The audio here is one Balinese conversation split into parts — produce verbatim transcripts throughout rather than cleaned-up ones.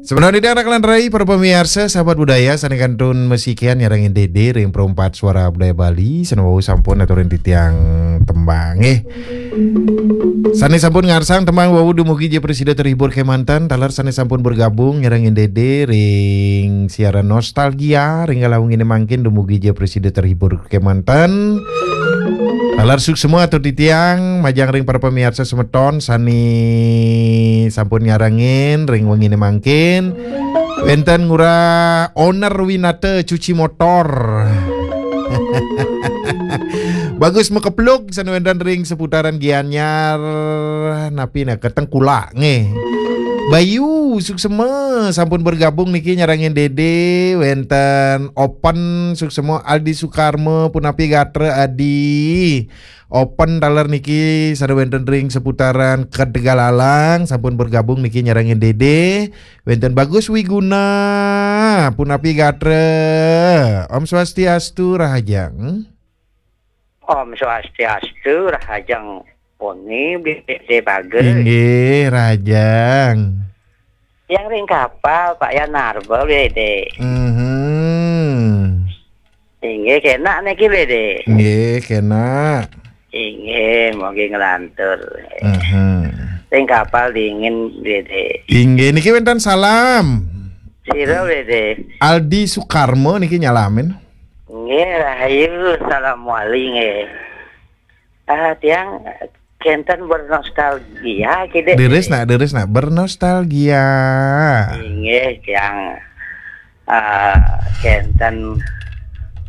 Sebenarnya anak lan rai para pamiarsa, sahabat budaya, sane kantun masikian nyarengin Dede ring Perempat Suara Budaya Bali, sane wau sampun aturin titiang tembang, nggih. Sane sampun ngarsang tembang wau dumugi ja prasida terhibur kemanten, taler sane sampun bergabung nyarengin Dede ring siaran nostalgia ring kala wengine mangkin dumugi ja prasida terhibur kemanten. Taler suksma atur titiang majeng ring para pamiarsa semeton sane sampun nyarengin ring wengine mangkin. Wenten Ngurah Owner Winata cuci motor. Bagus Makeplug sane wenten ring seputaran Gianyar, napi nah, Ketengkulak, nggih. Bayu suksma sampun bergabung niki nyarengin Dede, wenten Open suksma, Aldi Sukarma punapi gatra Adi. Open taler niki sane wenten ring seputaran Kedegalalang sampun bergabung niki nyarengin Dede. Wenten Bagus Wiguna punapi gatra. Om Swastiastu, rahajeng. Om Swastiastu, rahajeng poni, Bede Bagus. Inggih, rahajeng. Yang ring kapal, Pak Yan Narba, Bede. Mhm. Inggih, kenak niki, Bede. Nggih, kenak. Inggih, mogi nglantur. Mhm. Ring kapal dingin, Bede. Inggih, niki wenten salam. Sira, Bede? Aldi Sukarma niki nyalamin. Nggih, rahayu, salam wali, nggih. Ah, tiang kenten bernostalgia, kide. Deres nak, deres nak, bernostalgia. Inggih, tiang, ah, kenten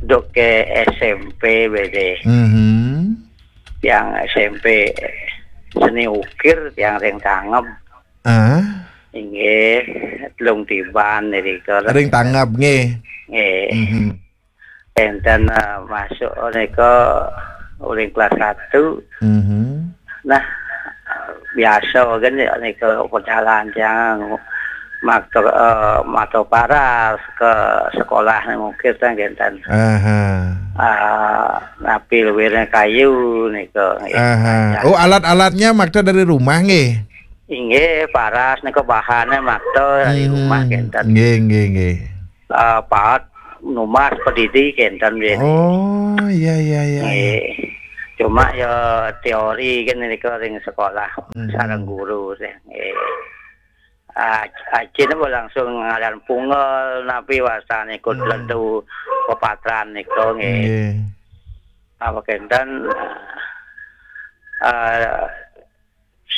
duk ke S M P, Bede. Mhm. Tiang S M P seni ukir, tiang ring Tangeb. Ah. Inggih, telung tiban irika. Ring Tangeb, nggih. Nggih. Mhm. Enten, eh, masuk nika uling kelas satu. Mhm. Nah, biasa kan ya nika perjalanan tiang makta, eh, makta paras ke sekolah nih mungkin kan enten. Aha. Ah, napi luwirnya kayu nika, nggih. Aha. Oh, alat-alatnya makta dari rumah, nggih? Inggih, paras nika bahannya makta dari rumah, hmm, kenten. Nggih, nggih, nggih. Ah, paat numbas pedidi kenten, nggih. Oh, iya, iya, iya, iya. Nggih. Cuma ya teori kan nika ring sekolah, hmm, sareng guru sih. Nggih. Ah, ajine langsung ngaran punggel napi wasane ikut, hmm, lendu pepatran nika, nggih. Nggih. Apa kenten, ah,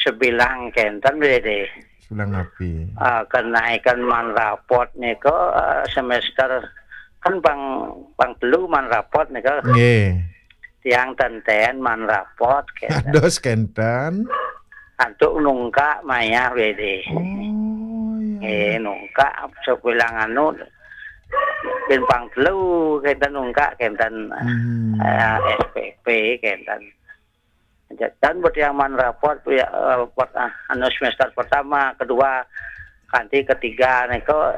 sebilang kenten, Bede. Sebilang napi? Ah, kenaikan man rapot nika, ah, semester kan pang, pang telu man rapot nika. Nggih. Tiang tenten man rapot kenten. Dados kenten. Antuk nungkak mayah, Bede. Oh, iya. Eh, nungkak sebilang anu, bin pang telu kenten nungkak kenten, hmm, eh, S P P kenten. Tan buat yang man rapot, ya, eh, pert-, ah, anu semester pertama, kedua, kanti ketiga nika,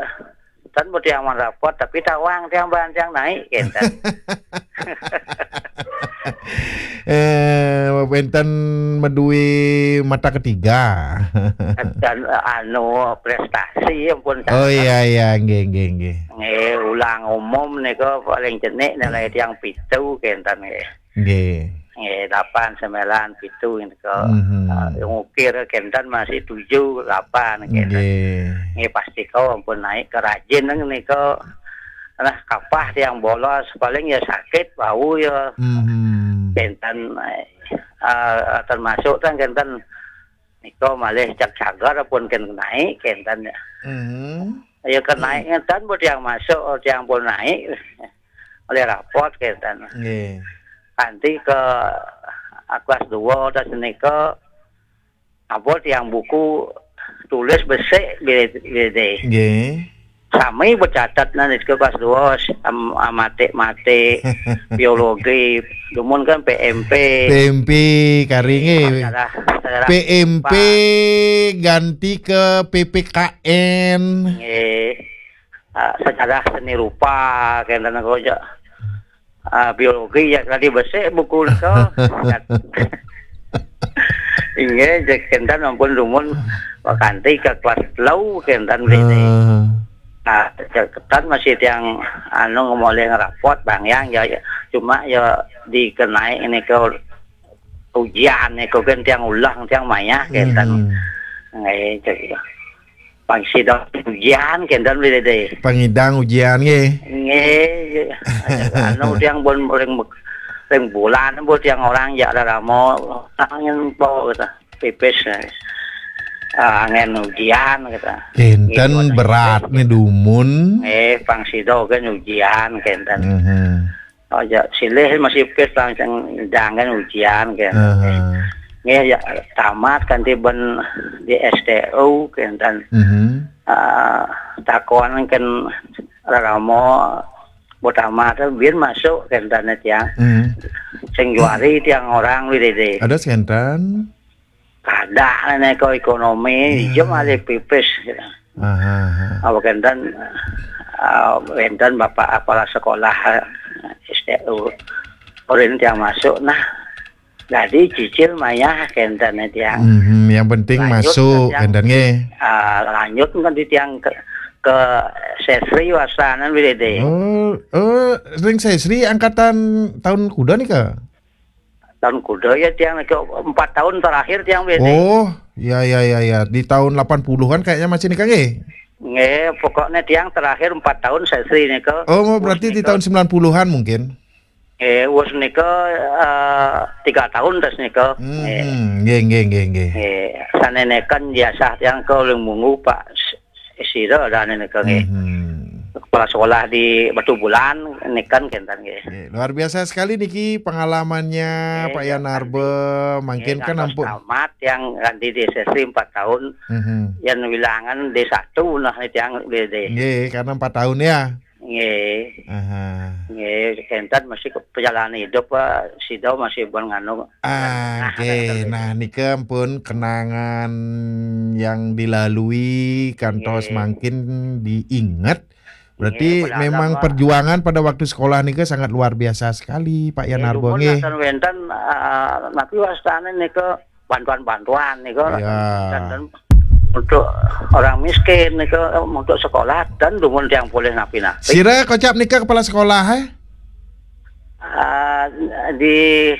tan buat yang man rapot, tapi tawang tiang ban tiang naik, kenten. Eh, wenten medui mata ketiga. Dan, eh, anu, prestasi, ampun. Oh, iya, iya, nggih, nggih, nggih. Nggih, ulang umum nika paling cenik nilai tiang pitu, kenten, nggih. Nggih. Nggih, delapan, sembilan, pitu nika. Mhm. Ah, yang ukir kenten masih tujuh, delapan kenten. Nggih. Nggih, pasti kau ampun naik ke rajin nika. Nah, kapah tiang bolos, paling ya sakit, bau ya. Mhm. Kenten, eh, termasuk kan kenten nika malih cak cagar pun ken naik kenten ya. Mhm. Ya, ken naik ngenten, bu tiang masuk, tiang pun naik. Oleh rapot kenten. Nggih. Kanti ke, ah, kelas dua, tas nika, apa tiang buku tulis besik, Bede, Bede. Nggih. Sami becatet nah nika kelas dua, am-, amatik-matik, biologi, dumun kan P M P. P M P, kari nggih. Sejarah, sejarah P M P rupa. Ganti ke P P K N. Nggih. Ah, sejarah seni rupa, kenten kok, ja. Ah, biologi ya tadi besik buku nika. Inggih, cék kénten ampun dumun kanti ka kelas telu kénten, Bli. Heeh. Nah, cék kénten masih tiang anu, ngemolih ngerapot, Bang Yang, ya, ya. Cuma ya dikenai ini ke ujian niku kan tiang ulah, tiang mayah kénten. Hmm. Nggih, cék. Pang sida ujian kénten, Bli Dédé. Pangidang ujian nggih. Nggih. Anu, tiang pun ring, ring bulan pun tiang orang jak raramo, tangen po kata. Pipis. Ah, angén ujian kata. Kénten nggih, berat nih dumun. Eh, pang sida kan ujian kénten. Mhm. Oh, ya, silih masih pipis langsung jangan ujian kan. Aha. Nggih, ya, tamat kanti ben di S T U kénten. Mhm. Ah, takon kan raramo, bu tamat biar masuk kénten tiang. Mhm. Sing juari tiang orang, Bli Dédé. Ada sénten. Kada nika ekonomi, hmm, iya malih pipis. Aha, aha. Apa kénten, ah, wénten Bapak Kepala Sekolah, eh, S T U. Urin tiang masuk, nah, jadi cicil mayah kénten tiang. Mhm, yang penting lanjut masuk, kan tiang, kénten nggih. Ah, lanjut kan di tiang ke, ke Sesri wastanan, Bli Dédé. Oh, oh, ring Sesri angkatan tahun kuda nika? Tahun kuda ya tiang nika, empat tahun terakhir tiang, Bli Dédé. Oh, ya, ya, ya, ya. Di tahun delapan puluhan kayaknya masih nika nggih? Nggih, pokoknya tiang terakhir empat tahun Sesri nika. Oh, berarti di tahun sembilan puluhan mungkin? Nggih, wus nika, eh, tiga tahun tas nika. Hmm, nggih, nggih, nggih, nggih. Nggih, saneneken jasa tiang ke uling munggu Pak S-, sira dane nika nggih. Mhm. Kepala sekolah di Batubulan niken kénten nggih. Nggih, luar biasa sekali niki pengalamannya Pak Yan Arbe. Mangkin kan ampun tamat yang kanti di S S I empat tahun. Mhm. Yang wilangan D satu nah tiang D D. Nggih, karena empat tahun ya. Nggih. Aha. Nggih, kénten masih ke perjalanan hidup, Pak. Sida masih pun nganu. Ah, nah, oke. Nah, nika pun kenangan yang dilalui kantos mangkin diingat. Berarti memang perjuangan pada waktu sekolah nika sangat luar biasa sekali, Pak Yan Arbo nggih. Wénten, ah, napi wastane nika bantuan-bantuan nika. Iya. Dan, dan untuk orang miskin nika, untuk sekolah dan dumun tiang polih napi-napi. Sira kocap nika kepala sekolah, eh? Ah, di,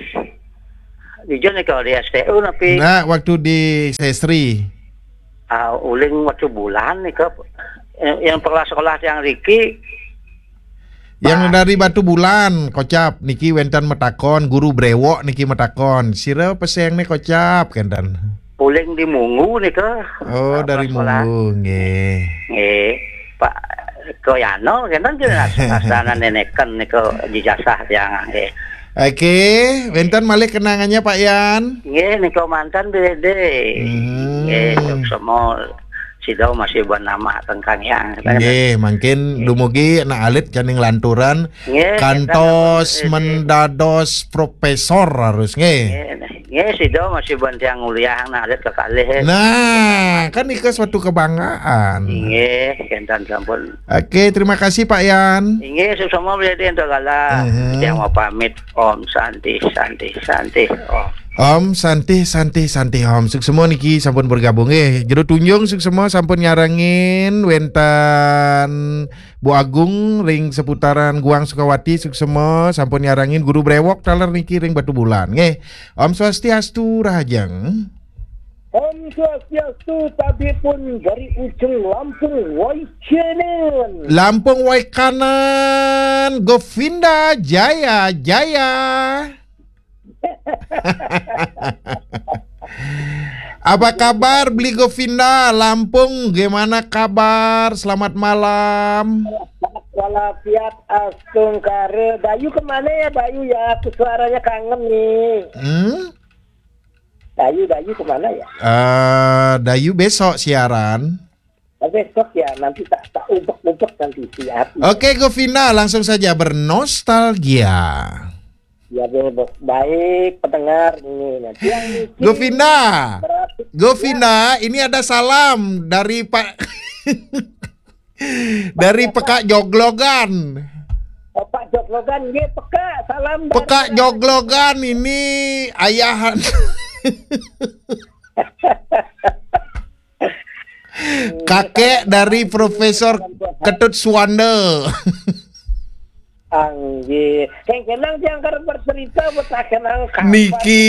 di Jon nika di S T U napi? Nah, waktu di Sesri. Ah, uling waktu bulan nika, yang, yang kepala sekolah tiang riki. Yang dari Batubulan, kocap niki wénten metakon, guru brewok niki metakon. Sira peseng nih kocap kénten. Uling di Munggu nika. Oh, dari Munggu, nggih. Nggih. Pak Koyano kénten kira asanan neneken nika jejasah tiang nggih. Oke, wénten malih kenangannya Pak Yan? Nggih, nika mantan D D. Hmm. Nggih, suksma sida masih bernama Tengkang Yang. Nggih, mangkin dumugi anak alit caning lanturan nggih, kantos mendados profesor harus nggih. Nggih, nggih, sida masih bantiang nguliah anak alit kekalih. Nah, kan nika suatu kebanggaan. Nggih, kénten sampun. Oke, terima kasih Pak Yan. Inggih, suksma Bli Dédé ento galah. Mhm. Tiang mau pamit. Om Santi, Santi, Santi. Om. Om Santi, Santi, Santi Om. Suksma niki sampun bergabung nggih. Jero Tunjung suksma sampun nyarengin wénten Bu Agung ring seputaran Guang Sukawati suksma sampun nyarengin guru brewok taler niki ring Batubulan nggih. Om Swastiastu rahajeng. Om Swastiastu, tabipun dari ujung Lampung Waikanan. Lampung Waikanan, Govinda Jaya Jaya. Apa kabar Bli Govinda, Lampung? Gimana kabar? Selamat malam. Walafiat astungkara. Dayu kemana ya, Dayu ya? Aku suaranya kangen nih. Hmm? Dayu, Dayu kemana ya? Eh, Dayu besok siaran. Oh, besok ya, nanti tak, tak ubek-ubek nanti siap. Oke, Govinda, langsung saja bernostalgia. Ya, be-, be-, baik, pendengar ini. Nanti yang niki Govinda, berarti Govinda, ini ada salam dari Pak Dari Pekak Joglogan. Oh, Pak Joglogan, nggih, Pekak, salam dari Pekak Joglogan ini ayahan. Kakek dari Profesor Ketut Suwanda. Anggih. Kengkenang tiang kerep bercerita buat takenang kapan. Niki,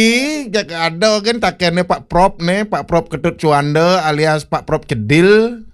jak ada kan takennya Pak Prop nih, Pak Prop Ketut Suwanda alias Pak Prop Cedil.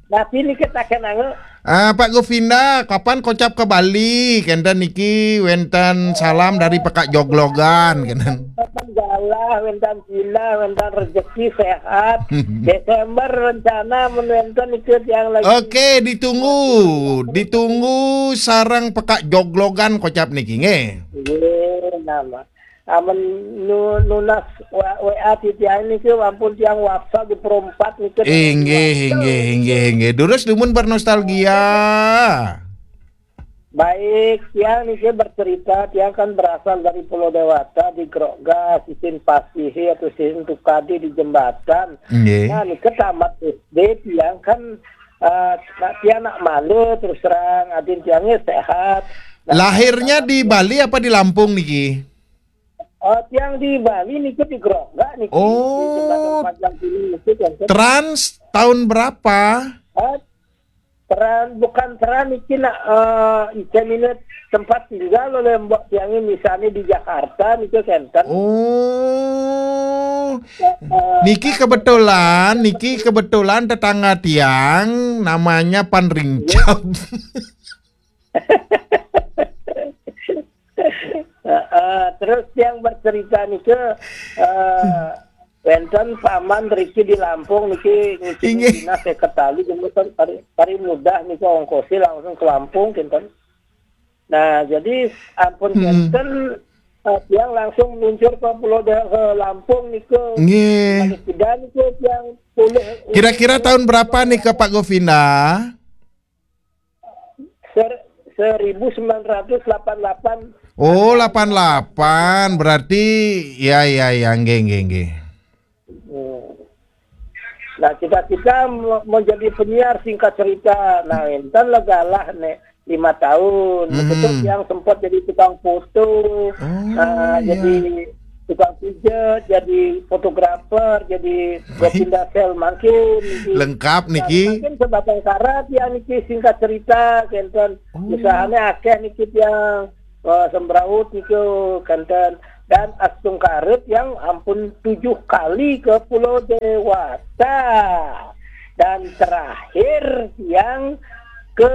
Tapi niki takenang. Ah, Pak Govinda, kapan kocap ke Bali? Kenten niki wenten salam dari Pekak Joglogan, kenten. Wenten galah, wenten pindah, wenten rezeki sehat. Desember rencana menonton ikut yang lagi. Oke, ditunggu. Ditunggu sarang Pekak Joglogan kocap niki, nggih. Nggih, nama. Amen nu-, nunas W A, W A ti tiang niki, ampun tiang WhatsApp di perempat niki. Inggih, inggih, inggih, inggih. Durus dumun bernostalgia. Baik, tiang niki bercerita, tiang kan berasal dari Pulau Dewata, di Grogga, sisin Pasihi atau sisin Tukadi di jembatan. Nggih. Nah, niki tamat S D tiang kan, eh, nak tiang nak malu terus terang, adin tiangnya sehat. Nah, lahirnya di Bali apa di Lampung niki? Oh, tiang di Bali niki di Grogga niki, di jembatan Oh, panjang ini niki, kan. Trans tahun berapa? Eh, Teran, bukan Teran niki nak, eh, icen ini tempat tinggal oleh mbok tiang ini, misalnya di Jakarta niki kenten. Oh. Eh, niki kebetulan, niki kebetulan tetangga tiang namanya Pan Rincap. Heeh, terus tiang bercerita niki, eh, wenten paman riki di Lampung niki ngisi Inggih. Dinas sekretari, kemudian pari, pari mudah niki ongkosi langsung ke Lampung, kinten. Nah, jadi ampun Hmm. Kenten, eh, tiang langsung meluncur ke Pulau De-, ke Lampung niki. Nggih. Balik beda niki tiang pulih. Kira-kira tahun berapa nih ke Pak Govinda? Ser-, seribu sembilan ratus delapan delapan. Oh, delapan delapan. Berarti, ya, ya, ya, nggih, nggih, nggih. Hmm. Nah, cita-cita mau, mau jadi penyiar, singkat cerita. Nah, enten lah galah nih, lima tahun. Hmm. Betul, yang sempat jadi tukang foto. Oh, nah, iya. Jadi tukang pijet, jadi fotografer, jadi Baik. Gopinda Sel mangkin niki. Lengkap niki. Nah, mangkin sebatang kara tiang niki, singkat cerita, kenten. Oh. Usahanya akeh niki tiang, eh, sembraut niku, kenten. Dan astungkara tiang ampun tujuh kali ke Pulau Dewata. Dan terakhir tiang ke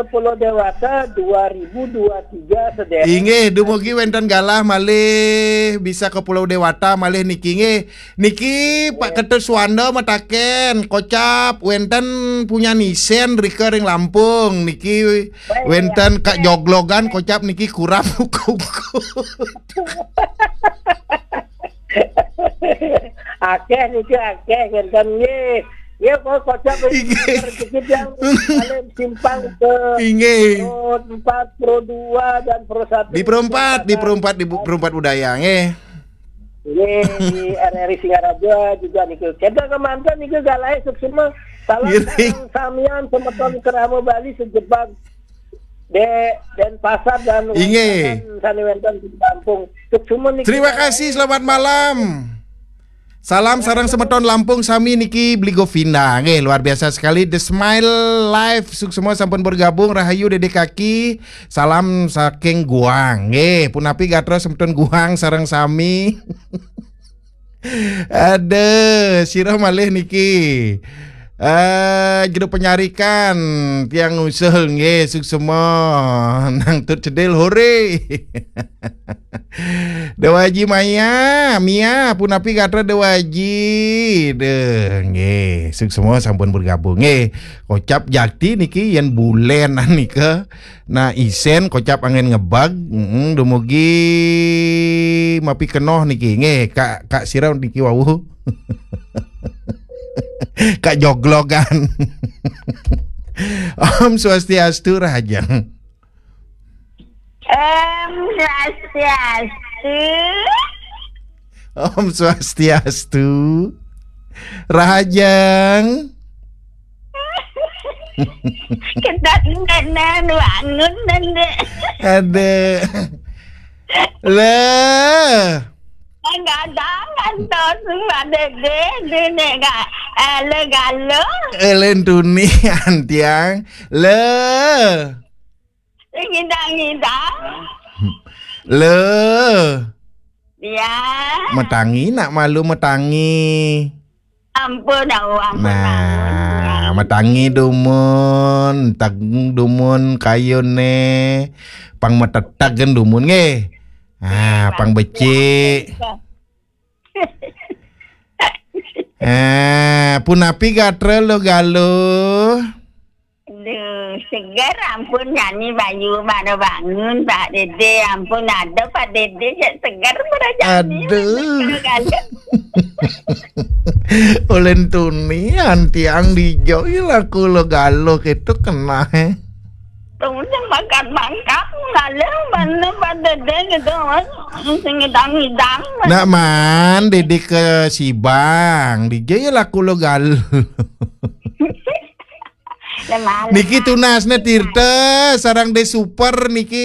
Pulau Dewata dua ribu dua tiga, sedherek. Inggih, dumugi wenten galah malih bisa ke Pulau Dewata malih niki, nggih. Niki Pak Nggih. Ketut Suwanda mataken, kocap wenten punya nisen rika ring Lampung. Niki Baik, wenten ya. Kak Joglogan, kocap niki kurap uku-uku. Akeh niki, akeh, kenten nggih. Ya, kok kocap ini Inggih. Rezeki yang paling simpang ke Inggih. Pro empat, Pro dua, dan Pro satu. Di Pro empat, di Pro empat, di Bu-, Pro empat budaya, nggih. Nggih, di R R I Singaraja juga niku. Kita kemanten niku galahe suksma. Salam Nggih. Sareng samian semeton Kerama Bali sejebag De-, Denpasar dan Inggih. Wonten sane wenten di Lampung. Suksma niki. Terima kasih, selamat malam. Salam sareng semeton Lampung sami niki Bli Govinda. Nggih, luar biasa sekali. The Smile Live, suksma sampun bergabung. Rahayu Dede Kaki. Salam saking Guang. Nggih, punapi gatra semeton Guang sareng sami. Aduh, sira malih niki. Eh, Jero Penyarikan, tiang ngusul nggih, suksma. Nang Tut Cedil, hore. Dewaji Maya, Mia, punapi gatra Dewaji. Deh, nggih, suksma sampun bergabung nggih. Kocap jakti niki yen bulenan nika. Nah, isen kocap angin ngebag, mm, dumugi mapi kenoh niki. Nggih, Kak, Kak sira niki wau. Kak Joglogan. Om Swastiastu, Rahajeng. Om Swastiastu. Om Swastiastu. Rahajeng. Kita tenan bangun, Nanda. Aduh. Lah. Kadang-kadang ngantos Mbak Dede, dene ga, eh, le galo. Elen tuni antiang. Le. Ngidang-ngidang. Le. Ya. Metangi nak malu metangi. Ampun, au, ampun, nah, ampun. Metangi dumun, tag dumun kayune, pang metetag kan dumun nggih. Ah, pang becik. Eh, punapi gatra lo galo? Aduh, seger ampun jani bayu baru bangun Pak Dede, ampun ada Pak Dede cek seger pada jani. Aduh. Seger kali. Ulen tuni antiang dijo laku lo galo gitu kena eh. Tuh, makan mangkap, galo mana Pak Dede gitu, Mas. Sing ngidang-ngidang, Mas. Nak man, Dede ke Sibang, dijo ya laku lo galo. Lemah, niki lemah. Tunasne Tirta sarang De Super niki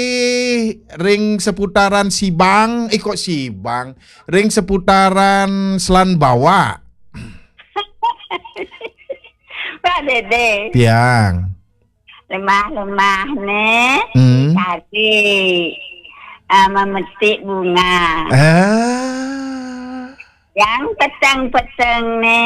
ring seputaran Sibang, eh, kok Sibang, ring seputaran Selan Bawa. Pak Dede. Tiang. Lemah-lemah ne. Hmm. Tadi, ah, memetik bunga. Ah. Yang peteng-peteng ne.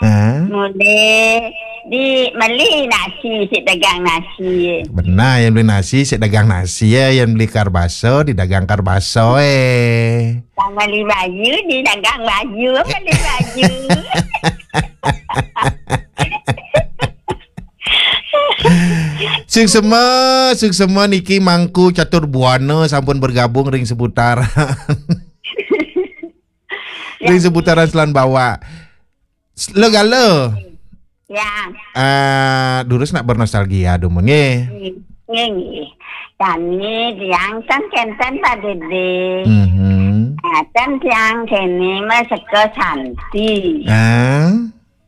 Ah. Mule di meli nasi si dagang nasi. Benar, yang beli nasi si dagang nasi ya, yang beli karbaso di dagang karbaso eh. Yang beli baju di dagang baju, beli baju. Suksema, suksema niki Mangku Catur Buana sampun bergabung ring seputaran. Ring seputaran Selan Bawa. Lo galo. Ya. Ah, durus nak bernostalgia dumun nggih. Nggih, nggih. Kami tiang kan kenten Pak Dede. Mhm. Ah, kan tiang kene mah seka Santi. Ah.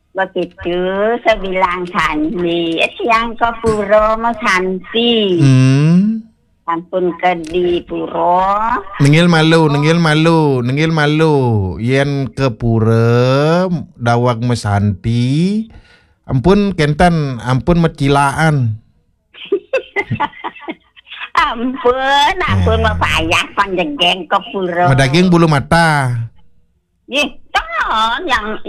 Begitu sebilang Santi, eh, tiang ke pura mah Santi. Hmm. Sampun ke di pura. Nenggil malu, nenggil malu, nenggil malu. Yen ke pura daweg mesanti, ampun kenten, ampun mecilaan. Ampun, ampun, eh, mapayah panjegeng ke pura. Madaging bulu mata. Nggih, ton yang,